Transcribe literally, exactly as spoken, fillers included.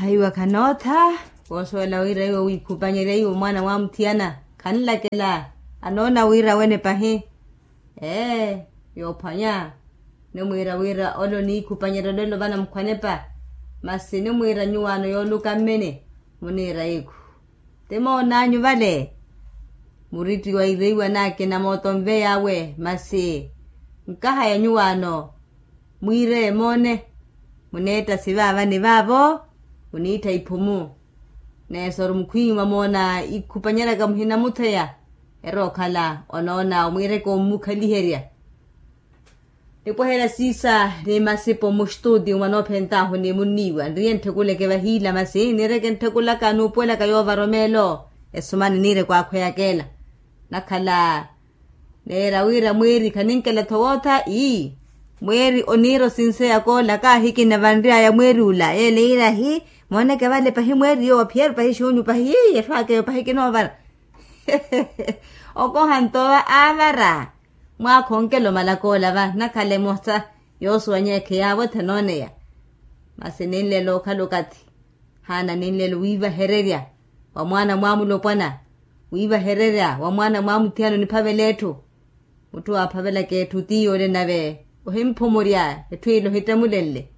Ahiwa khanootha. Koosuwela wira iwo wiikhupanyerya iwo mwaana mwamuthiyana, khanlakela anoona wira wene pahi. Ee, yoophwanya. Nimwiira wira ole oniikhupanyerya olelo vana mukhwanepa. Masi nimwiira nyuwaano yooluka mmene muniira ikhu. Ti moonanyu vale, muritti wa ireiwa naakina mooto nveyawe masi nkahaya nyuwaano. Mwiireye moone, muneetta sivaavani vaavo muniittha iphumu. Neesoru mukhwiiwa moona ikhupanyeryaka muhinamutheya. Erookhala onoon'awe mwiireke ommukhaliherya. Nipweherya siisa ni masipo mustuti mwanoophent'ahu ni munniiwa nriye ntthekuleke vahiila masi niireke ntthikulaka nuupuwelaka yoovara omeelo. Esumani niireke waakhweyaka ela. Nakhala neera wira mweeri khaninkela-tho wootha ii, mweeri oniira osinseya koola kaahikina vanry'aya mweeri ula yeela iirahi. Mooneke vale pahi mweeri yoowa phiyari pahi xuunyu pahi ii etthu akeyo pahi kinoovara. Okoha nto aavara mwaakha onkela omalaka ola va nakhala emosa yoosuwanya ekheyaavo ethanooneya. Masi ninlela okhala okathi haana ninlela owiivahererya wa mwaana mwamulopwana, wiivahererya wa mwaana mwamuthiyana oniphavela etthu. Mutthu waaphavelaka etthu ti yoole nave ohimphumurya etthu ile ohittemulenle.